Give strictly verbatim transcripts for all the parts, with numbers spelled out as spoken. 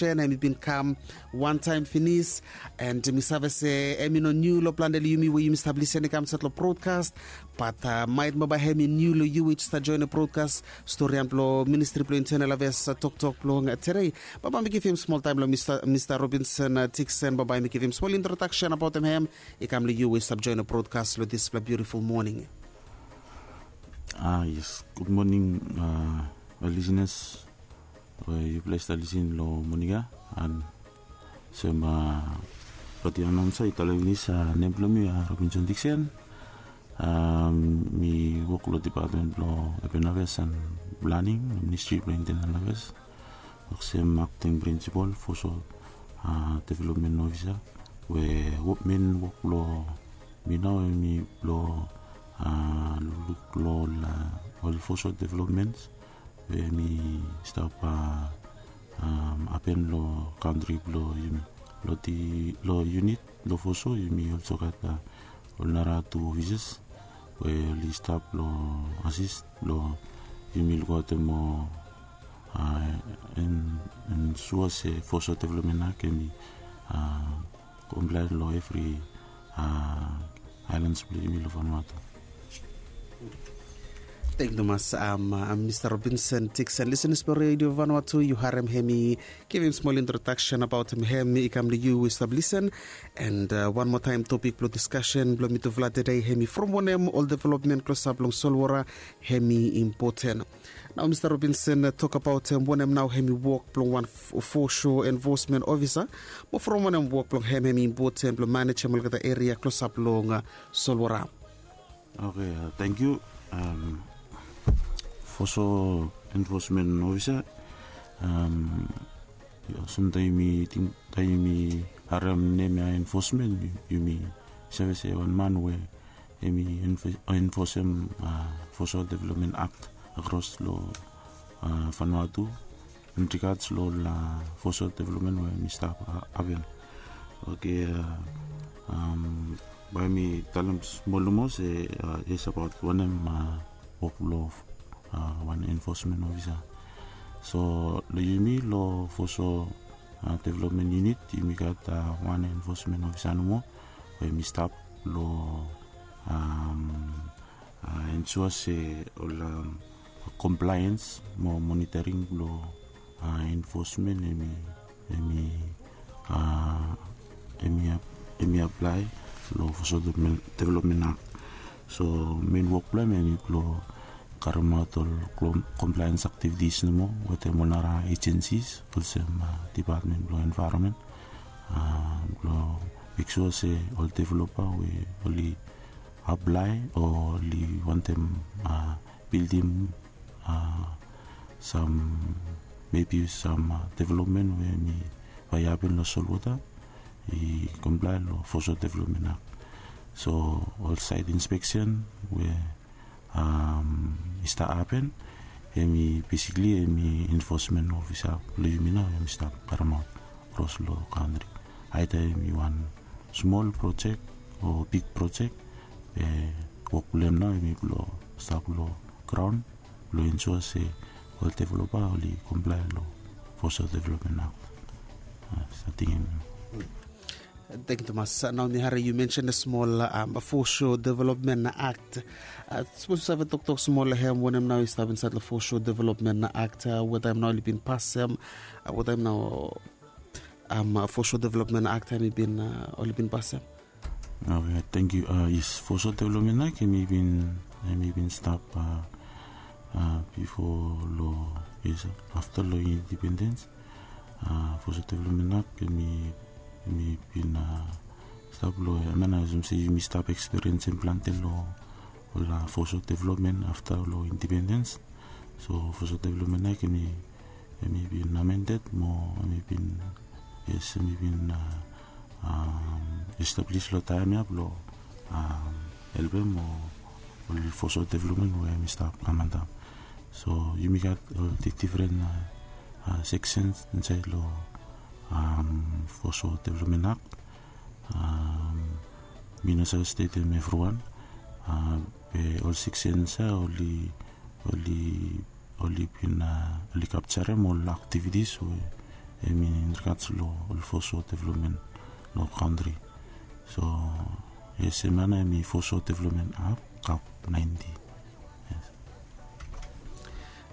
Em i bin kam wantaem finis. And mi save se em i no niu long plante long yumi we yumi stap lisen i kam insait long brodkas. Bat maet mo bae em i niu long yu we yu stap joenem brodkas. Storian blong ministri blong intenel aves toktok blong tedei. Bambae mi givim smol taem long mista robinson tiksen bambae mi givim smol introdaksen abaotem hem. I kam long yu we yu stap joenem brodkas long dispela biutiful moning. Ah yes, gud moning. Ol lisinas we yupela i stap lisin long moning ya. An sem roti anaunsa i talem pinis, nem bilong mi Robinson Dixon. Mi wok long dipatmen bilong Urban Affairs and Planning, Ministri bilong Internal Affairs, olsem akting prinsipal, foso development ofisa, we men wok bilong mi nau em i bilong lukluk long ol foso developments we mi stap hapen long kantri bilong yumi. Long unit bilong foso yumi olsem gat ol nara tu ofisas we ol i stap long asis long yumi lukautim o ensua se foso development ak em i komplain long evri ailans bilong yumi long Vanuatu. Thank you tumas. Mista Robinson Dixon, listeners bilong Radio Vanuatu, yu harim hem i givim smol introdaksen abaut hem i kam long yu we stap lisen. And wan moa taim topik bilong diskasen bilong mitufala tede hem i from wanem ol development klosap long solwara hem i impoten. Nau Mista Robinson, tokabautem wanem nau hem i wok bilong wan fosho enfosmen ofisa, mo from wanem wok bilong hem hem i impoten bilong manejem olgeta eria klosap long solwara? Oke, thank yu. Fosho enfosmen ofisa, olsem taim yumi harim nem ya enfosmen, yumi save se wan man we em i enfosem fosho development akt akros long Vanuatu, in regards long ol fosho development we em i stap hapen. Oke, bae mi talem smol nomo se yes abaut wanem wok bilong wan enfosmen ofisa. So long yumi long fosho development unit yumi gat wan enfosmen ofisa nomo we em i stap long ensua se ol komplaens mo monitoring bilong enfosmen em i em i aplai long fosho development akt. So men wok bilong em em i bilong karemaot ol komplaens aktivitis nomo wetem ol nara ejensis olsem dipatmen bilong envaeronmen bilong meksua se ol developa we ol i aplai o ol i wantem bildim sam mebi sam developmen we em i bai i hapen long solwota i komplain long fosho developmen akt. So ol sait inspeksen we i stap hapen em i besikli em i enfosmen ofisa bilong yumi nau em i stap karemaot kros long kantri. Aita em i wan smol projek o bik projek, be wok bilong em nau em i bilong stap long graun bilong ensua se ol developa ol i komplain long fosho development akt. Sating em. Thank you tumas. Nau mi hari yu mention a smol fosho development akt. Sapos yu save toktok smol long hem wanem nau i stap insait long fosho development akt, wetaim nau ol i bin pasem, wetaim nau fosho development akt em i bin ol i bin pasem? Oke, thank you. Yes, fosho development akt em i bin em i bin stap bifo long yes afta long indipendens. Fosho development akt em i em i bin stap long em ya nau olsem se yumi stap ekspiriensim plante long ol fosho development afta long indipendens. So fosho development akt em i em i bin amendet mo em i bin yes em i bin establis long taim ya bilong helpim ol fosho development we em i stap kam antap. So yumi gat ol difren seksens insait long fosho development akt. Mi no save stetim evriwan, be ol seksens ya ol i ol i ol i bin ol i kapsarim ol aktivitis we Em i in regards lo ol foreshore development lo country. So yes, em ya nao em i foreshore development act kap ninety. Yes.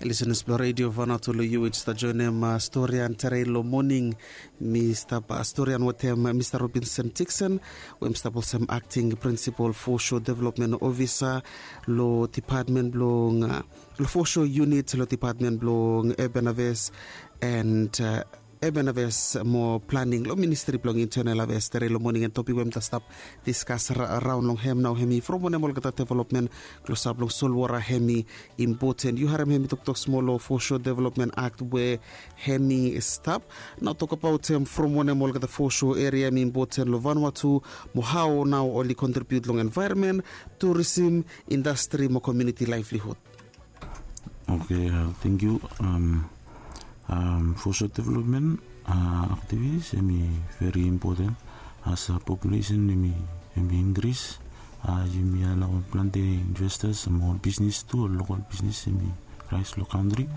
Listeners blong Radio Vanuatu, long yu we yu stap joinim stori ya tere long moning, mi stap stori ya wetem Mista Robinson Dixon, we mi stap olsem acting principal foreshore development officer long department blong, long foreshore unit long department blong urban affairs and urban affairs mo planning long ministri blong internal affairs tere long moning. And topik we mi ta stap diskas raon long hem nao hem i from wanem olgeta development klosap long solwota hem i impoten. Yu harem hem i toktok smol long foreshore development act we hem i stap nao tokabaot hem from wanem olgeta foreshore eria hem i impoten long Vanuatu, mo hao nao oli kontribiut long envaeronmen, turisim, indastri mo komiuniti laevlihud. Oke, tengkiu. Foreshore development aktivitis hem i veri impoten. As populesen hem i inkris, yumi alaoem plante investas mo ol bisnis tu, ol lokal bisnis hem i raes long kantri.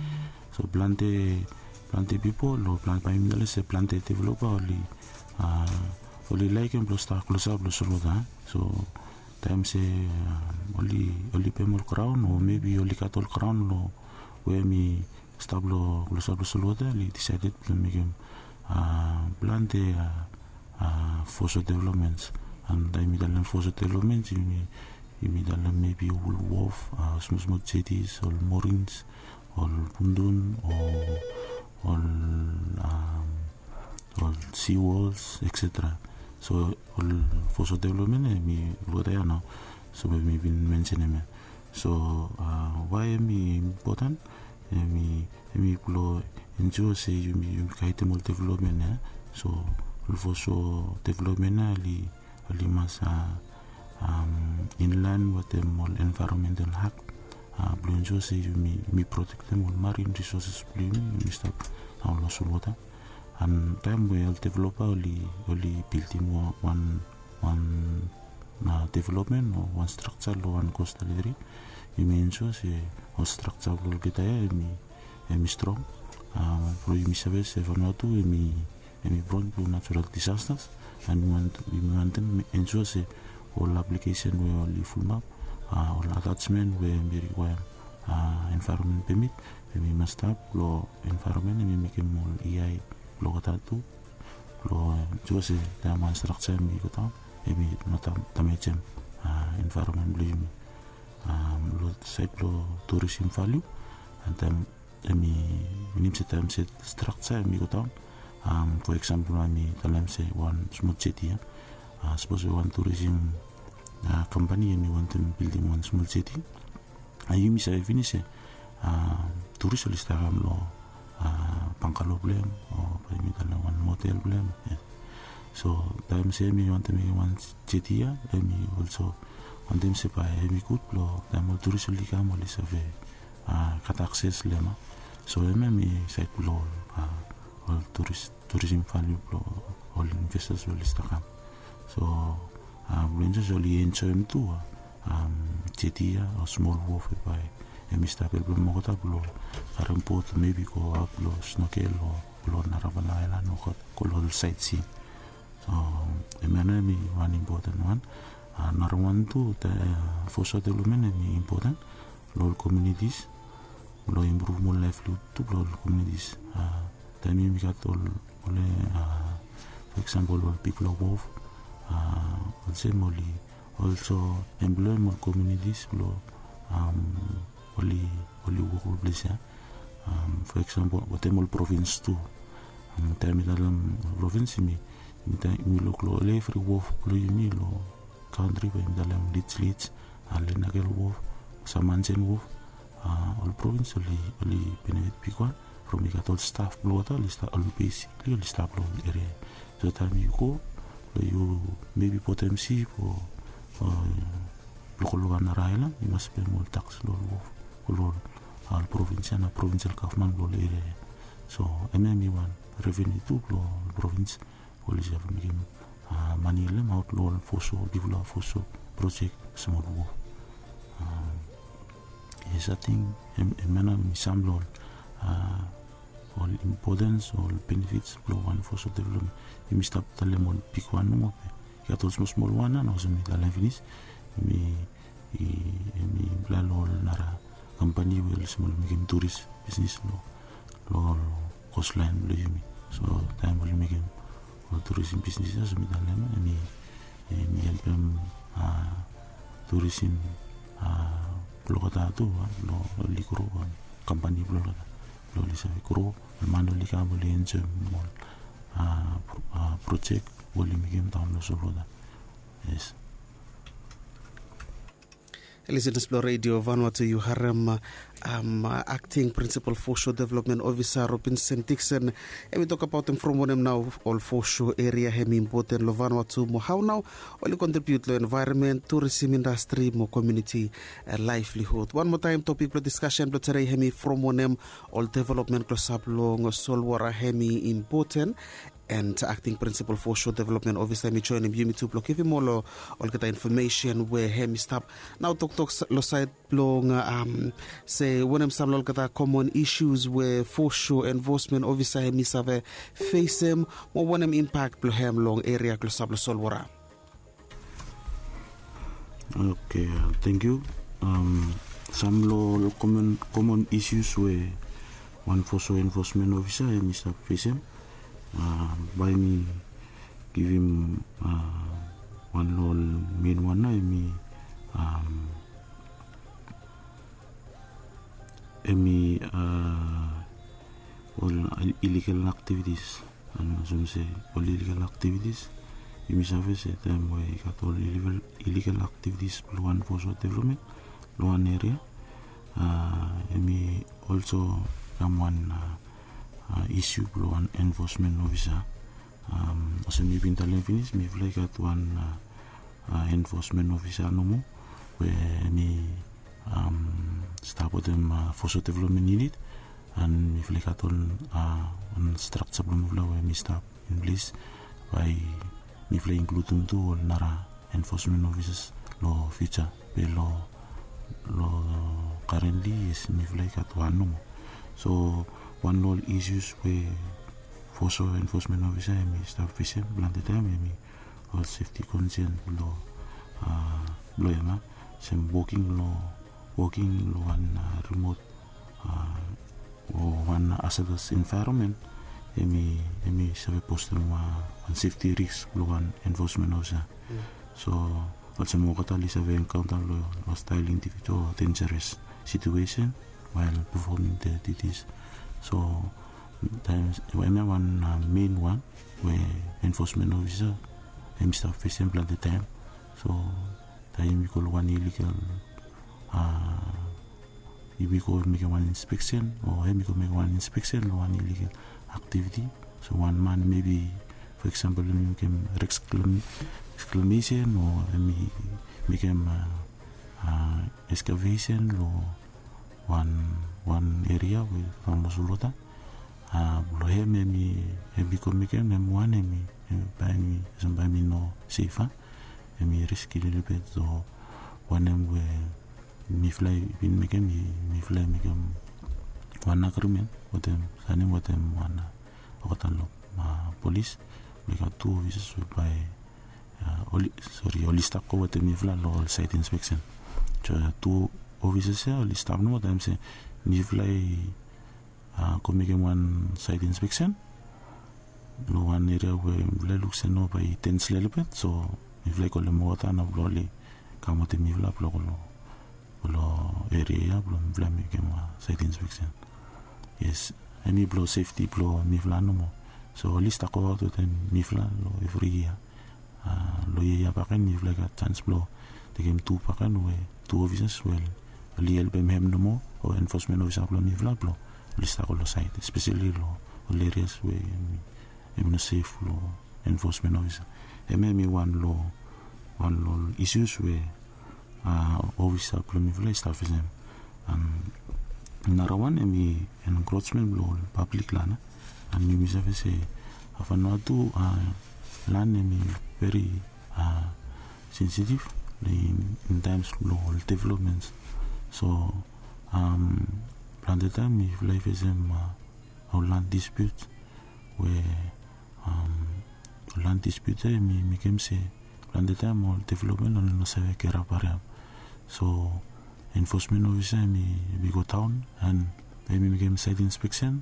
So plante, plante pipol o bae yumi talem se plante developa oli, oli laekem blong stap klosap long solwota. So taem se oli, oli pem ol graon o mebi oli gat ol graon long we hem i stap long klosap long solwota, oli disaeded blong mekem plante foreshore developments. And taem yumi talem foreshore developments, yumi talem mebi ol wof, smol smol jetis, ol morins, ol pundun, o ol, ol seaworlds, etcetera. So ol foreshore development hem i olgeta ya nao. So we mi bin mensenem ya. So wae hem i impoten? Hem i, hem i blong ensua se yumi, yumi gaedem ol development ya. So ol foreshore development ya oli, oli mas inlaen wetem ol envaeronmental akt blong ensua se yumi, yumi protektem ol marin risoses blong yumi, yumi stap daon long solwota. And taem we ol developa oli, oli bildim wan, wan development o wan strakja long wan kostal eria, yumi ensua se ol strakja blong olgeta ya hem i, hem i strong. From yumi save se Vanuatu hem i, hem i pron tu natural disasters. And yumi wantem ensua se ol aplikesen we oli fulumap, ol atajmen we hem i rikwaem envaeronmen pemit, hem i mas stap long envaeronmen, hem i mekem ol E I blong olgeta tu blong ensua se taem wan strakja hem i godaon, hem i no damejem envaeronmen blong yumi. Long saed blong turisim valiu, and taem hem i minim se taem se strakja hem i godaon, fo eksampol, yumi talem se wan smol jeti ya. Sapos we wan turisim kampani hem i wantem bildim wan smol jeti, yumi save finis se turis oli stap kam long bangalo blong hem o bae yumi talem wan motel blong hem. So taem se hem i wantem mekem wan jeti ya, hem i olso wantem se bae hem i gud blong taem ol turis oli kam, oli save gat akses long hem. So hemia hem i saed blong ol, ol turis, turisim valiu blong ol investas we oli stap kam. So blong ensua se oli enjoem tu jeti ya o smol wof we bae hem i stap helpem olgeta blong karem bot, mebi go aot blong snokel o long narafala aelan o go long ol saetsing. So hemia nao hem i wan impoten wan. Narawan tu, foreshore development hem i impoten long ol komiunitis blong impruvum ol laevlihud tu blong ol komiunitis. Taem yumi gat ol, ol, fo eksampol, ol bigfala wof, olsem oli olso emploem ol komiunitis blong oli, oli wok long ples ya. Fo eksampol wetem ol provins tu. Taem mi talem ol provins, yumi, yumi luk long evri wof blong yumi long kantri, bae yumi talem Lij Lij, Lenakel wof, Samansen wof, ol provins oli, oli benefit bigwan from i gat ol staf blong olgeta oli stap, oli besikli oli stap long ol eria ya. So taem yu go blong yu mebi botem sip o, o luk long wan nara aelan, yu mas pem ol taks long ol wof o long ol provins ya, na provinsel gavman blong ol eria ya. So hemia hem i wan reveniu tu blong ol provins oli save mekem mane long hem aot long ol foreshore, bigfala foreshore projek, olsem ol wof. Yes, ating hemia nao hem i sam long ol ol impotens ol benefits blong wan foso development. Yumi stap talem ol bigwan nomo be i gat ol smolsmol wan na olsem mi talem finis. Yumi yumi aplai long ol nara kampani we olsem ol mekim turis bisnis long ol kostlaen blong yumi. So taem oli mekim ol turisim bisnis ya olsem mi talem yumi yumi helpem turisim blong olgeta tu blong oli gro ol kampani blong olgeta blong oli save gro ol man oli kam oli enjoem ol projek we oli mekim daon long solwota. Yes. Listeners blong redio Vanuatu, yu harem akting prinsipal fosho development ofisa Robinson Dikson. Hem i tokabautem from wanem nao ol fosho eria hem i impoten long Vanuatu mo hao nao oli kontribiut long envaeronmen, turisim indastri mo komiuniti laevlihud. Wan moa taem topik blong diskasen blong tede hem i from wanem ol developmen klosap long solwora hem i impoten. And akting prinsipal fosho development ofisa hem i joenem yumi tu blong givim ol olgeta infomesen we hem i stap nao toktok long saed blong se wanem sam long olgeta komon isus we fosho enfosmen ofisa hem i save fesem mo wanem impak blong hem long eria klosap long solwora. Oke, tengkiu. Sam long ol komon isus we wan foso enfosmen ofisa hem i stap fesem, bae mi givim wan long ol men wan nao hem i hem i ol iligal aktivitis. Olsem se ol iligal aktivitis yumi save se taem we i gat ol iligal aktivitis blong wan foso developmen long wan eria, hem i olso kam wan isu blong wan enfosmen ofisa. Olsem mi bin talem finis mifala i gat wan enfosmen ofisa nomo we hem i stap wetem foso developmen yunit. And mifala i gat wan strakja blong mifala we hem i stap in ples bae mifala i inkludim tu ol nara enfosmen ofisas long fiuja. Be long long karentli yes mifala i gat wan nomo. So wan long ol isus we foso enfosmen ofisa hem i stap fesem plante taem hem i ol sefti konsen blong blong hem a sem woking long woking long wan rimot o wan hazardous envaeronmen. Hem i save postem wan sefti risk blong wan enfosmen ofisa. So olsem olgeta oli save enkaonta long hostael indivijual o denjeres situesen wael pefoming de ditis. So taem hemia wan men wan we enfosmen ofisa hem i stap fesem plante taem. So taem yumi go long wan iligal yumi go mekem wan inspeksen o hem i go mekem wan inspeksen long wan iligal aktiviti. So wan man mebi fo eksampel yumi mekem reksklamesen o hem i mekem eskavesen long wan wan eria we famosol wota. Blong hem hem i hem i go mekem hem wan hem i bae hem i olsem bae hem i no sef a. Hem i riski lelebet o wanem we mifala i bin mekem i mifala i mekem wan agrimen wetem saenem wetem wan olgeta long polis blong i gat tu ofisas we bae oli sori oli stap go wetem mifala long ol saet inspeksen. So tu ofisas ya oli stap nomo taem se mifala i go mekem wan saet inspeksen long wan eria we mifala i luk se no bae i dens lelebet. So mifala i kolem wota nao blong oli kam wetem mifala blong go long long eria ya blong mifala mekem wan saet inspeksen. Yes, hemi blong sefti blong mifala nomo. So oli stap goaot wetem mifala long evri yia. Long yia ya bakegen mifala i gat jans blong tekem tu bakegen we tu ofisas we oli helpem hem nomo o enfosmen ofisa blong mifala blong oli stap go long saet espeseli long ol erias we hemi no sef long enfosmen ofisa. Hemia hemi wan long wan long ol isus we ofisa blong mifala i stap fesem. Narawan hemi enkrosmen blong ol pablik lan. An yumi save se hafanoa tu lan hemi veri sensitif in taims blong ol developmens. So plante taim mifala i fesem ol land dispute we ol land dispute ya em i mekem se plante taem ol development ol i no save kerap hariap. So enfosmen ofisa em i go daon an em i mekem saet inspeksen.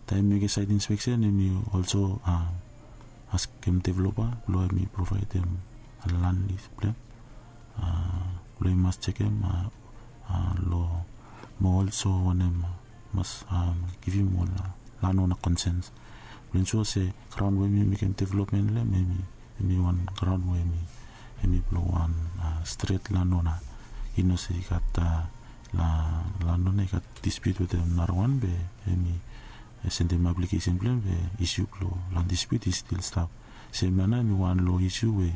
Taem i mekem saet inspeksen em i olso askem developa blong em i provaedem lan lis blong em blong em i mas jekem long mo olso wanem mas givim ol lan ona konsens blong ensua se graon we em i mekem developmen long em em i wan graon we em i blong wan stret lan ona. I no se i gat lan ona i gat dispute wetem narawan be em i sendem aplikesen blong em be isu blong lan dispute i stil stap. Sem ya nao em i wan long isu we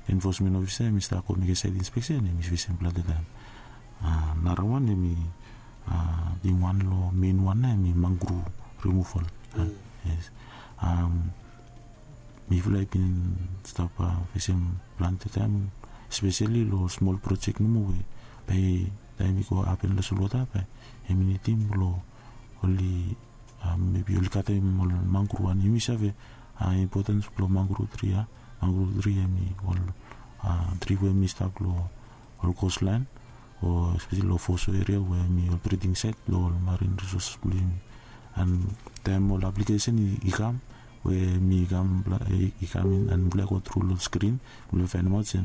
enfosmen ofisa em i stap go mekem saet inspeksen em i fesem plante taem. Narawan em i wan long mein wan nao em i mangru rimuval. Yes. Mifala i bin stap fesem plante taem espeseli long smol projek nomo we bae taem i go hapen long solwota bae em i nidim blong oli mebi oli katem ol mangru an yumi save impotens blong mangru tri ya. Mangru tri em i ol tri we em i stap long ol kostlaen o espeseli long foso eria we em i ol briding saet blong ol marin risoses blong yumi. An taem ol aplikesen i kam we em i kam i kam in an mifala i go tru long skrin mifala i faenemaot se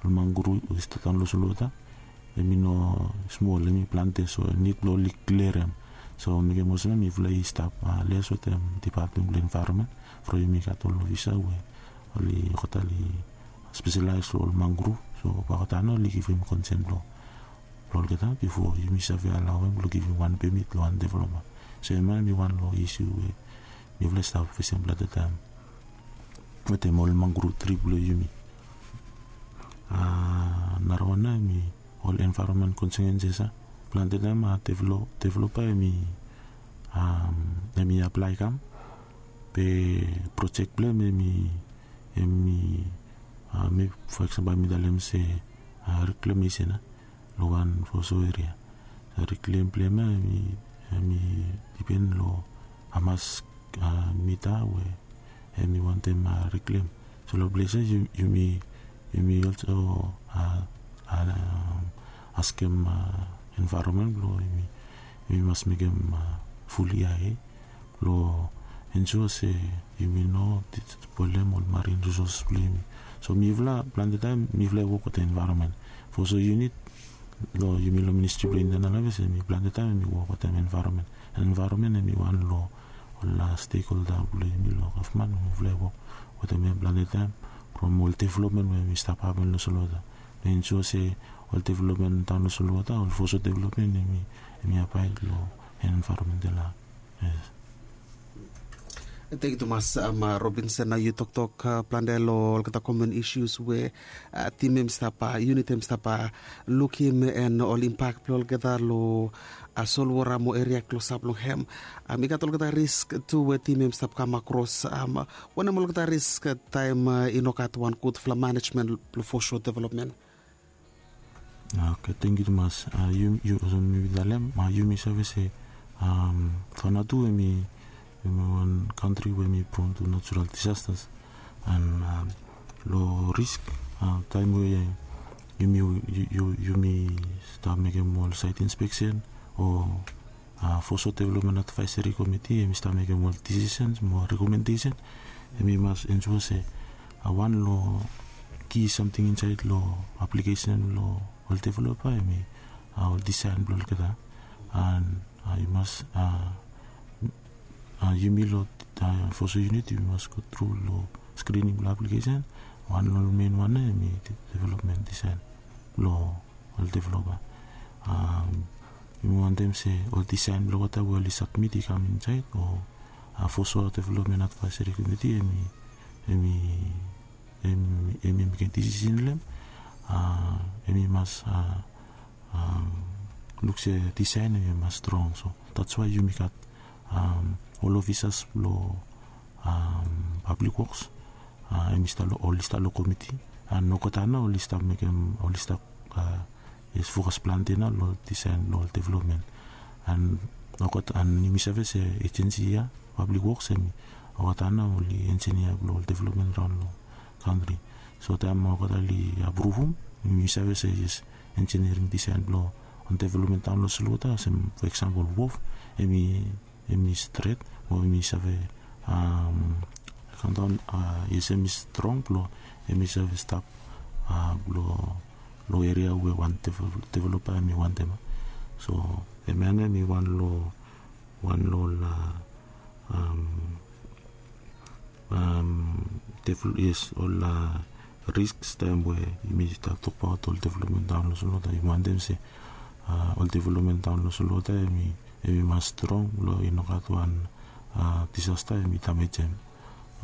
ol mangru i stap daon long solwota em i no smol em i plante so nid blong oli klerem. So mekem olsem mifala i stap les wetem dipatmen blong envaeronmen from yumi gat ol ofisa we oli olgeta oli speselaes long ol mangru. So olgeta nao oli givim konsen blong olgeta bifo yumi save alaoem blong givim wan pemit long wan developa. So em ya em i wan long isu we mifala i stap fesem plante taem wetem ol mangru tri blong yumi. Narawan nao em i ol envaeronmen konsekenses ya plante taem developa em i aplae i kam be projek blong em em i em i fo eksempel mi talem se reklamesen ya long wan foso eria. Reklem blong em ya em i dipen long hamas mita we em i wantem reklem. So long ples ya yumi yumi olso askem envaeronmen blong yumi yumi mas mekem ful ia blong ensua se yumi no spoelem ol marin risoses blong yumi. So mifala plante taem mifala i wok wetem envaeronmen foso yunit long yumi long ministri blong intenal aves em i plante taem em i wok wetem envaeronmen. Envaeronmen em i wan long ol stekholda blong yumi long gavman we mifala i wok wetem em plante taem from ol developmen we em i stap hapen long solwota. Ensua se ol developmen daon long solwota ol foso developmen em i abaed long envaeronmental. Yes. Tengkiu tumas. Robinson, nao yu toktok plante long olgeta komen isus we tim em i stap yunit em i stap lukim en ol impak blong olgeta long solwota mo eria klosap long hem. I gat olgeta risk tu we tim em i stap kam akros. Wanem olgeta risk taem i no gat wan gudfala manejmen blong foso developmen? Oke, tengkiu tumas. Olsem mi bin talem yumi save se, fana tu em i wan kantri we em i pron tu natural disastas. An long risk taem we yumi yumi stap mekem ol saet inspeksen o foso developmen advaeseri komiti em i stap mekem ol disisens mo rekomendesen, em i mas ensua se wan long ki samting insaed long aplikesen blong ol developa em i ol disaen blong olgeta. An i mas yumi long foso yunit yumi mas go tru long skrining blong aplikesen wan long ol mein wan ya em i developmen disaen blong ol developa. Yumi wantem se ol disaen blong olgeta we oli sabmit i kam insaed o foso developmen advaeseri komiti em i em i em i mekem disisen long em em i mas luk se disaen em i mas strong. So dats wae yumi gat ol ofisas blong pablik woks em i stap long ol i stap long komiti an olgeta nao ol i stap mekem ol i stap fokas plante nao long ol disaen blong ol developmen. An Olgeta an yumi save se ejensi ya, pablik woks, hemi olgeta nao oli enjinia blong ol developmen raon long kantri. So taem olgeta oli apruvum, yumi save se yes, enjiniaring disaen blong wan developmen daon long solwota olsem, fo eksampol, wof, hemi hemi stret o hemi save kamdaon, yes, hemi strong blong hemi save stap blong eria we wan developa hemi wantem. So hemia nao hemi wan long wan long ol, yes, ol risks taem we yumi stap tokbaot ol developmen daon long solwota. Yumi wantem se ol developmen daon long solwota hemi mas strong blong i no gat wan disasta hemi damejem.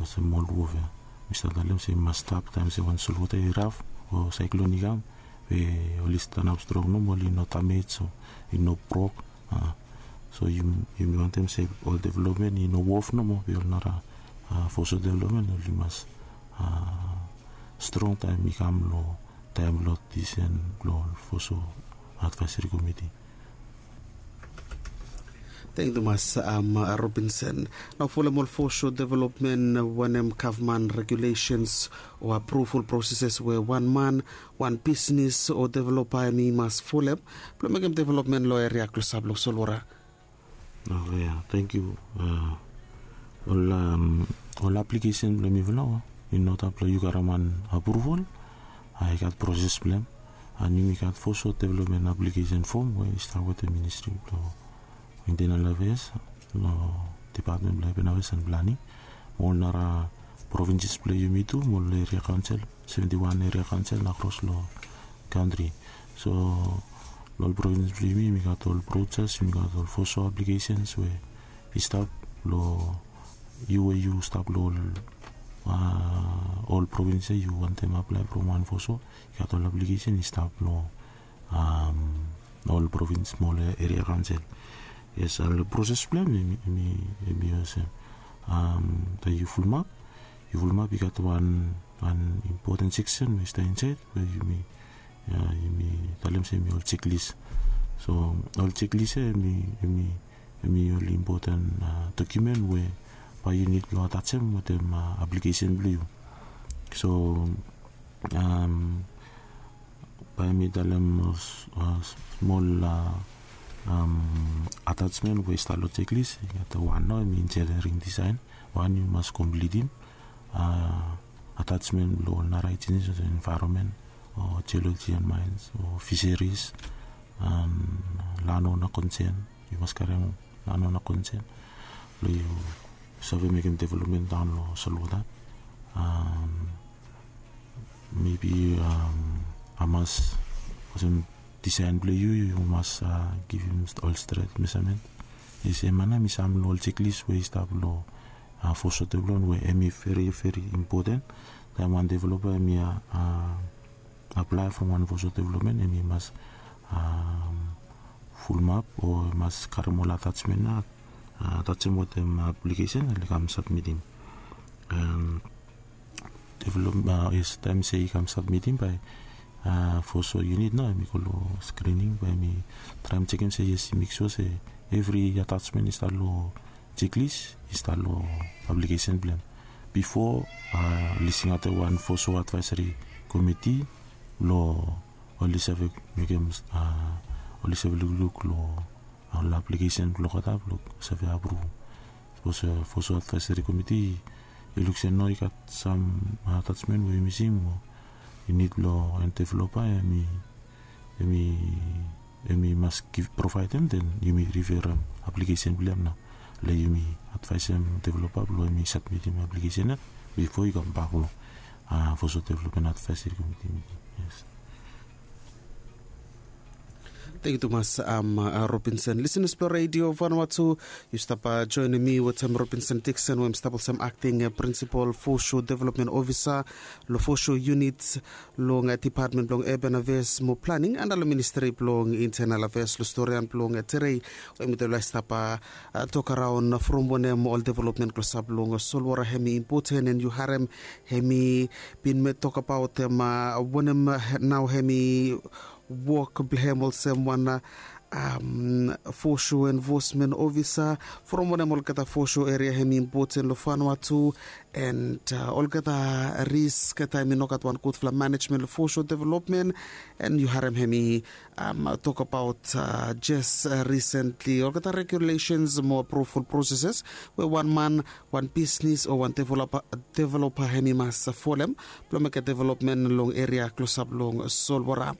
Olsem ol wof ya, mi stap talem se i mas stap taem se wan solwota i raf o saeklon i kam, we oli stanap strong nomo, oli no damej o i no brok. So yumi wantem se ol developmen i no wof nomo, we ol nara foso developmen oli mas strong taem i kam long taem blong disen blong ol foso advaeseri komiti. Tangkiu tumas, Robinson. Nao folem ol foso developmen, wanem gavman regulesens o apruval proseses we wan man, wan bisnis o developa hemi mas folem blong mekem developmen long eria klosap long solwota? Oke, ya, tangkiu. Ol aplikesen blong mifala i no stap long yu karem wan apruval. I gat proses blong hem. An yumi gat foso developmen aplikesen fom we i stap wetem ministri blong intenal afeas, long depatmen blong apen afeas an planing, mo ol nara provinses blong yumi tu, mo ol eria kaonsel, seventi wan eria kaonsel akros long kantri. So long ol provins blong yumi, yumi gat ol brojas, yumi gat ol foso aplikesens we i stap long yu, we yu stap long ol provins ya, yu wantem aplae from wan foso, i gat ol aplikesen i stap long ol provins mo ol eria kaonsel. Yes, an long proses blong hem hemi olsem, taem yu fulumap, yu fulumap, i gat wan impoten seksen we i stap insaed we yumi talem se hemi ol jeklis. So ol jeklis ya hemi ol impoten dokiumen we bae yu nid blong atajem wetem aplikesen blong yu. So bae mi talem ol smol atajmen we i stap long jeklis. I gat wan nao, hemi injiniaring disaen. Wan, yu mas komplitim atajmen blong ol nara ejensis olsem envaeronmen o jioloji an maens o fiseris an lanona konsen. Yu mas karem lanona konsen blong yu save mekem developmen daon long solwota. Mebi hamas, olsem disaen blong yu, yu mas givim ol stret mesamen. Yes, hemia nao hemi sam long ol jeklis we i stap long foso developmen we hemi veri veri impoten. Taem wan developa hemi aplae from wan foso developmen, hemi mas fulumap o i mas karem ol atajmen ya, atajem wetem aplikesen, oli kam sabmitim. Develop, yes, taem se i kam sabmitim bae foso yunit nao hemi go long skrining, bae hemi traem jekem se yes, i mek sua se evri atajmen i stap long jeklis, i stap long aplikesen blong hem. Bifo oli singaotem wan foso advaeseri komiti blong oli save mekem, oli save lukluk long ol aplikesen blong olgeta blong save apruv. Sapos foso advaeseri komiti i luk se no, i gat sam atajmen we i mising o i nid blong wan developa, hemi hemi mas provaedem, den yumi riferem aplikesen blong hem nao long yumi advaesem developa blong hemi sabmitim aplikesen ya bifo i kambak long foso developmen advaeseri komiti miting. Yes. Tangkiu tumas, Robinson. Lisenas blong Redio Vanuatu, yu stap joenem mi wetem Robinson Dixon, we hem stap olsem akting prinsipol foso developmen ofisa long foso yunit long depatmen blong urban afeas mo planing anda long ministri blong intenal afeas, long storian blong Terei, we mitufala i stap tokaraon from wanem ol developmen klosap long solwota hemi impoten, and yu harem hemi bin mekem tokbaot wanem nao hemi wok blong hem olsem wan um, fosho enfosmen ofisa from wanem olgeta fosho eria hem i impoten long fanua tu. And uh, olgeta risk taem i no gat wan gudfala manejmen long fosho developmen. And yu harem hem i um, tokbaot uh, jes uh, risentli olgeta regulations mo apruful proseses we wan man, wan bisnis o wan developa hem i mas folem blong mekem developmen long eria klosap long solwara.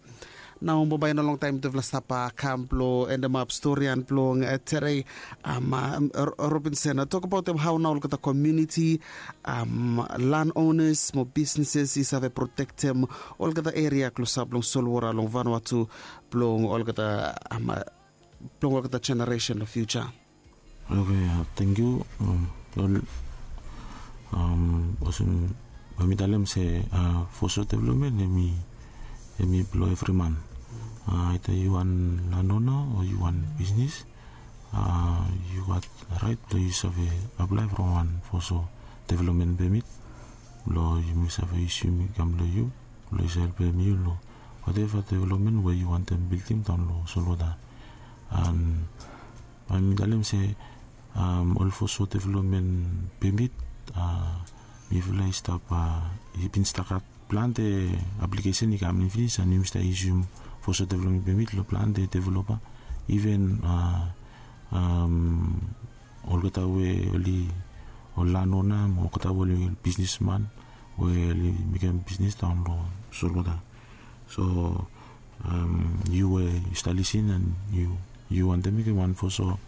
Nao bambae i no longtaem tufala stap kam blong endemap storian blong tedei. Robinson, tokbaotem hao nao olgeta komuniti, lan onas mo bisneses i save protektem olgeta eria klosap long solwara long vanua tu blong olgeta blong olgeta jeneresen long fiuja. Oke, tangkiu. Ol olsem bae mi talem se foso developmen hem i blong evri man. Aita yu wan lanona o yu wan bisnis, yu gat raet blong yu save aplae from wan foso developmen pemit blong yumi save yusim i kam long yu blong yu save helpem yu long wateva developmen we yu wantem bildim daon long solwota. An bae mi talem se ol foso developmen pemit, mifala i stap i bin stap gat plante aplikesen i kam in finis an yumi stap yusim foso developmen pemit long plante developa. Iven olgeta we oli ol lanona mo olgeta we oli bisnisman we oli mekem bisnis daon long solwota. So yu we yu stap lisin an yu wantem mekem wan foso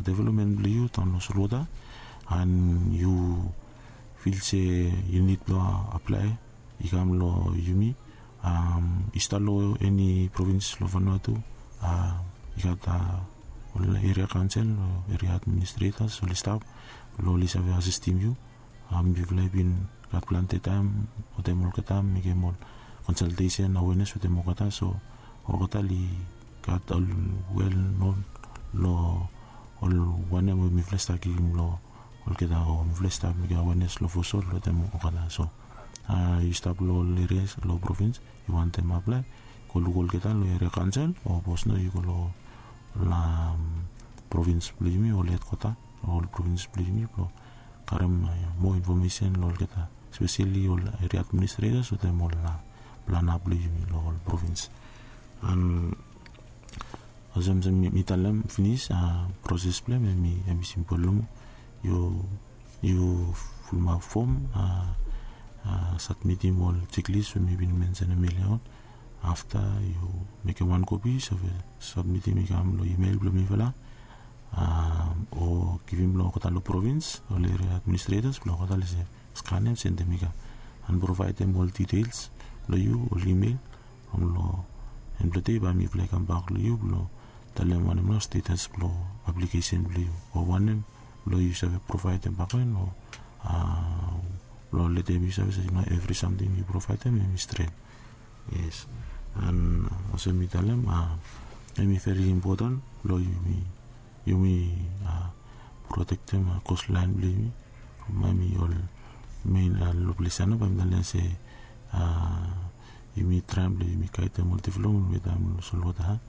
developmen blong yu daon long solwota an yu fil se yu nid blong aplae i kam long yumi. Yu stap long eni provins long Vanuatu, i gat ol eria kaonsel o eria administretas oli stap blong oli save asistim yu. Mifala i bin gat plante taem wetem olgeta mekem ol konsaltesen awenes wetem olgeta, so olgeta oli gat ol wel non long ol wanem we mifala i stap givim long olgeta o mifala i stap mekem awenes long foso wetem olgeta. So yu stap long ol erias long provins yu wantem aplae, go luk olgeta long eria kaonsel o sapos no yu go long ol provins blong yumi, ol hedkwata long ol provins blong yumi blong karem moa infomesen long olgeta, speseli ol eria administretas wetem ol plana blong yumi long ol provins. An olsem mi talem finis, proses blong hem hem i simpol nomo. Yu yu fulumap fom, sabmitim ol jeklis we mi bin mensenem elia on. Afta yu mekem wan kopi, save sabmitim i kam long imel blong mifala o givim long olgeta long provins ol eria administretas blong olgeta oli save skanem sendem i kam an provaedem ol diteels blong yu ol imel. From long en blong dei bae mifala i kambak long yu blong talem wanem nao stetas blong aplikesen blong yu o wanem blong yu save provaedem bakegen o blong letem yu save se nao evri samting yu provaedem hem i stret. Yes. An olsem mi talem hem i veri impoten blong yumi yumi protektem kostlaen blong yumi. From hem i ol mein long ples ya nao bae mi talem se yumi traem blong yumi gaedem ol developmen we taem long solwota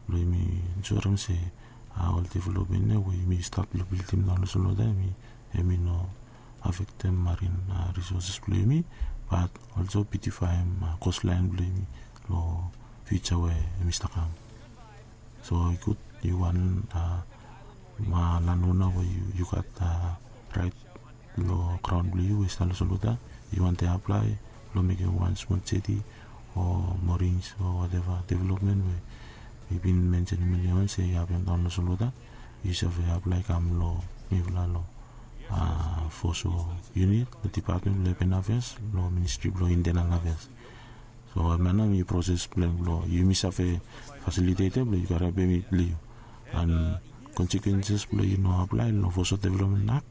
blong yumi ensurem se ol developmen ya we yumi stap long bildim nao long solwota hem i no afektem marin risoses blong yumi, bat olso bitifaem kostlaen blong yumi long fiuja we hem i stap kam. So i gud yu wan lanona we yu gat raet long graon blong yu we i stap long solwota, yu wantem aplae blong mekem wan smol jeti o morings o wateva developmen we i bin mensenem elia on se i hapem daon long solwota, yu save aplae kam long mifala long foso yunit long dipatmen blong epen afeas long ministri blong intenal afeas. So hem ya nao hem i proses blong hem blong yumi save fasilitetem blong yu karem pemit blong yu. An konsekwenses blong yu no aplae long foso developmen ak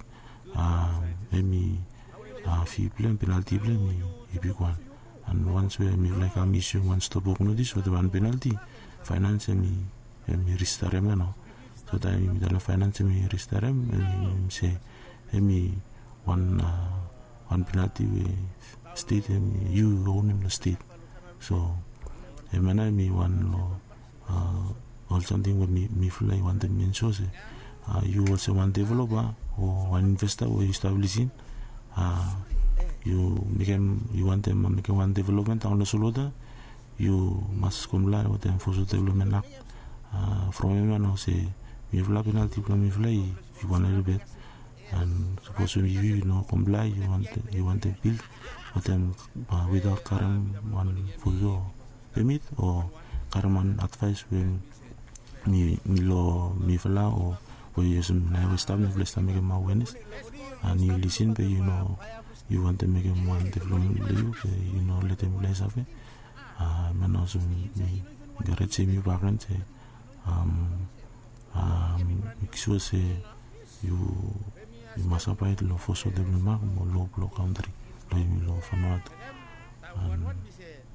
hem i fi blong hem penalti blong hem i bigwan. An wans we mifala i kam isium wan stop wok notis wetem wan penalti, faenans hem i ristarem ya nao. So taem yumi talem faenans hem i ristarem hem i minim se hem i wan wan penalti we stet hem yu onem long stet. So hem ya nao hem i wan long Ol samting we mifala i wantem mention se yu olsem wan developa o wan investa we yu stap lisin, yu mekem yu wantem mekem wan development daon long solwota, yu mas komplae wetem foso development ak. From em ya nao se mifala penalti blong mifala i wan helibet. An sapos yu no komplae, yu wantem bil wetem without karem wan foso pemit o karem wan advaes we mi long mifala o we yu olsem nao we stap mifala i stap mekem awenes an yu lisin be yu no yu wantem mekem wan development blong yu be yu no letem mifala i save. Em ya nao olsem mi enkarejem yu bakegen se mek sua se yu yu mas abaet long foso development ak mo lo blong kantri blong yumi long Vanuatu.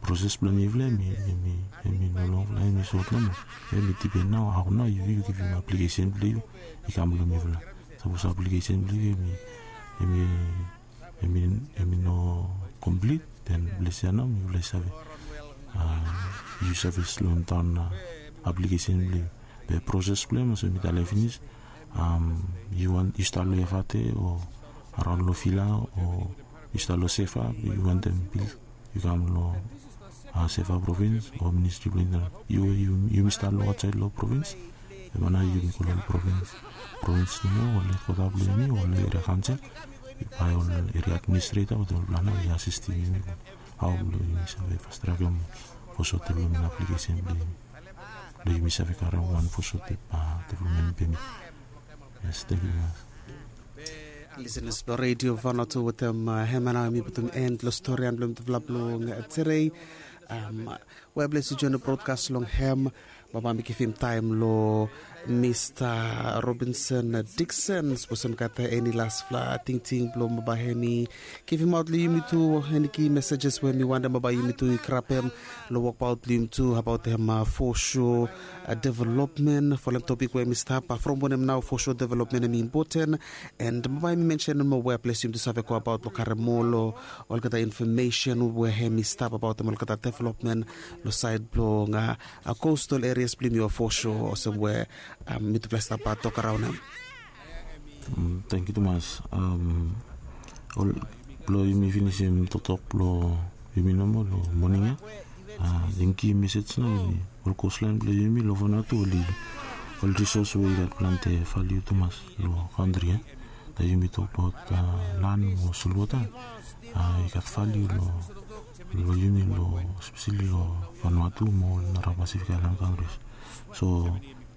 Proses blong mifala em i no longfala, em i sot nomo. Em i dipen nao hao nao yu givim aplikesen blong yu i kam long mifala. Sapos aplikesen blong yu em i em i no komplit, den ples ya nao mifala i save yu save slomdaon aplikesen blong yu. Be proses blong em olsem mi talem finis, yu stap long F R T o araon long vila o yu stap long seva, yu wantem bil yu kam long seva provins o ministri blong intanel. Yu we yumi stap long aotsaed long provins, em ya nao yumi go long provins, provins nomo o long hedkwota blong yumi o long eria kaonsel, bae ol eria administreta wetem ol plan nao i asistim yumi long hao blong yumi save fastrakem foso development aplikesen blong yumi blong yumi save karem wan foso development pemit. Yes, thank you very much. Listeners blong Radio Vanuatu, wetem hem ya nao mi putum en long storian blong mitufala blong terei. Wea ples yu join long brodkas long hem. Bambae mi givim taem long Mista Robinson Dikson, sapos hem gat eni lasfala tingting blong bambae hem i givimaot long yumi tu eni ki mesejes we mi wantem bambae yumi tu i grabem long wokbaot blong yumi tu abaot hem foso developmen folem topik we hem i stap from wanem nao foso developmen hem i impoten. And bambae mi mensenem moa wea ples yumi tu save go abaot blong karem moa long olgeta infomesen we hem i stap abaot hem olgeta developmen long saed blong kostol erias blong yumi o foso olsem we mitufala i stap tok araon hem. Tangkiu tumas. Ol blong yumi finisim toktok blong yumi nomo long moning ya. Yumi givim mesej nao yumi ol kostlaen blong yumi long Vanuatu oli ol risos we i gat plante valiu tumas long kantri ya. Taem yumi tokbaot lan mo solwota i gat valiu long yumi long espeseli long Vanuatu mo ol nara Pasifik aelan kantris. So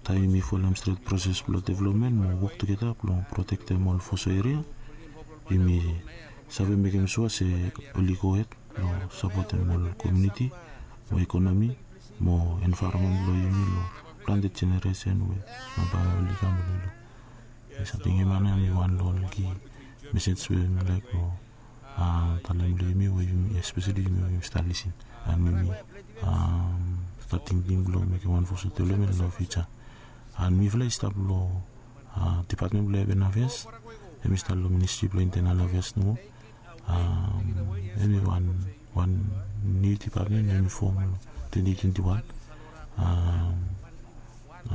taem yumi folem stret proses blong developmen mo wok tugeta blong protektem ol foso eria, yumi save mekem sua se oli gohed long sapotem ol komuniti mo ekonomi mo envaeronmen blong yumi long plante jeneresen we nao bae oli kam long yumi. Samting ya nao em i wan long ol ki mesej we mi laek long talem long yumi we yumi espeseli yumi we yumi stap lisin. An yumi stap tingting blong mekem wan foso developmen long fiuja. An mifala i stap long dipatmen blong Urban Affairs, hem i stap long Ministri blong Internal Affairs nomo. Em i wan wan niu dipatmen we hem i fom long twenti twenti wan.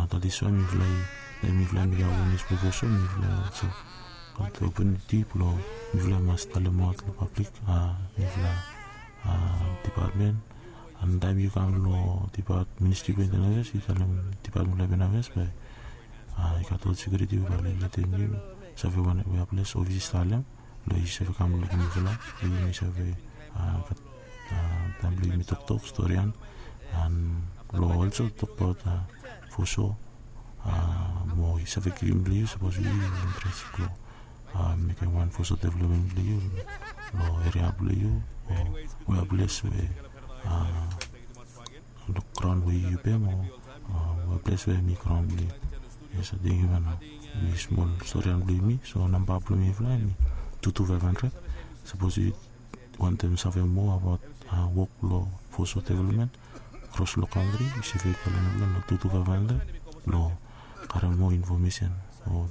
That is why mifala i mifala i mekem awenes blong foso, mifala i olso gat optuniti blong mifala i mas talemaot long pablik mifala dipatmen. An taem yu kam long dipatmen, Ministri blong Internal Affairs, yu talem dipatmen blong Urban Affairs bae i gat ol sekiuriti we bae oli letem yu save wanem we ples ofis i talem blong yu save kam lukim mifala blong yumi save gat taem blong yumi toktok storian an blong olso tokbaot foso mo i save givim blong yu sapos yu interes blong mekem wan foso developmen blong yu long eria blong yu o wea ples we long graon we yu pem o wea ples we hem i graon blong yu. Yes, ating yu nao em i smol storian blong yumi. So namba blong mifala hem i tu tu faef handred. Sapos yu wantem save moa abaot wok blong foso developmen kros long kantri, yu save kolem mifala long tu tu faef handred blong karem moa infomesen o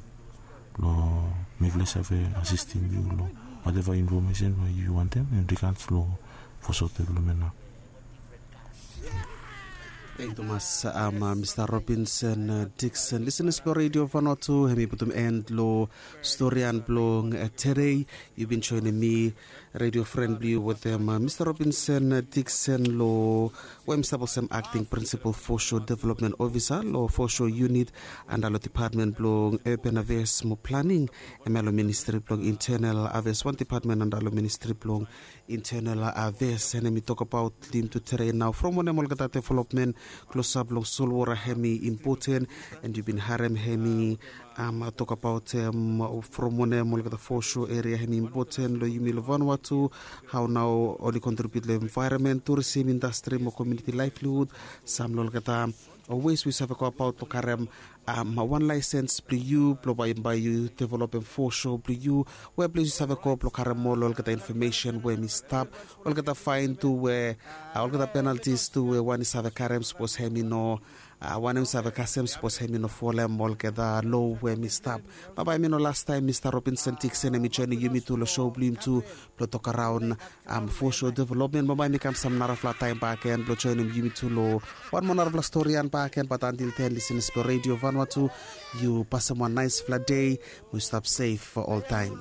blong mifala i save asistim yu long wateva infomesen we yu wantem in rigats long foso developmen nao. Thank you tumas, um, uh, Mr. Robinson, uh, Dixon. Listeners blong Radio Vanuatu, hemi putum end lo storian blong, uh, today. Yu bin joinim mi, radio friend blong yu wetem, uh, Mr. Robinson, uh, Dixon lo, we hemi stap olsem acting principal foreshore development officer lo foreshore unit anda lo department blong urban affairs mo planning. Hemia lo ministry blong internal affairs, wan department anda lo ministry blong internal affairs. And hemi tokbaot long yumi tu today nao from wanem olgeta development klosap long solwota hemi impoten. And yu bin harem hemi, um, tokbaot, um, from wanem olgeta foreshore area hemi impoten lo yumi lo Vanuatu. Hao nao oli contribute lo environment, tourism industry mo community livelihood. Sam lo olgeta ways we yu save go about lo karem, um, wan laisens blong yu blong bae, bae yu developem foreshore blong yu. We ples yu save go blong karem ol olgeta information we hemi stap, olgeta fine tu we, uh, olgeta penalties tu we wan i save karem sapos hemi no, uh, wanem i save kasem sapos hemi no folem olgeta lo we hemi stap. Bambae hemi no lastaem Mr. Robinson Dixon hemi joinim yumi tu lo show blong yumi tu blong tokaraon, um, foreshore development. Bambae mi kam sam narafala taem bakegen blong joinim yumi tu lo wan moa narafala storian bakegen. Bat until then, listeners blong Radio Vanuatu, yu pasem wan naesfala dei mo yu stap sef oltaem.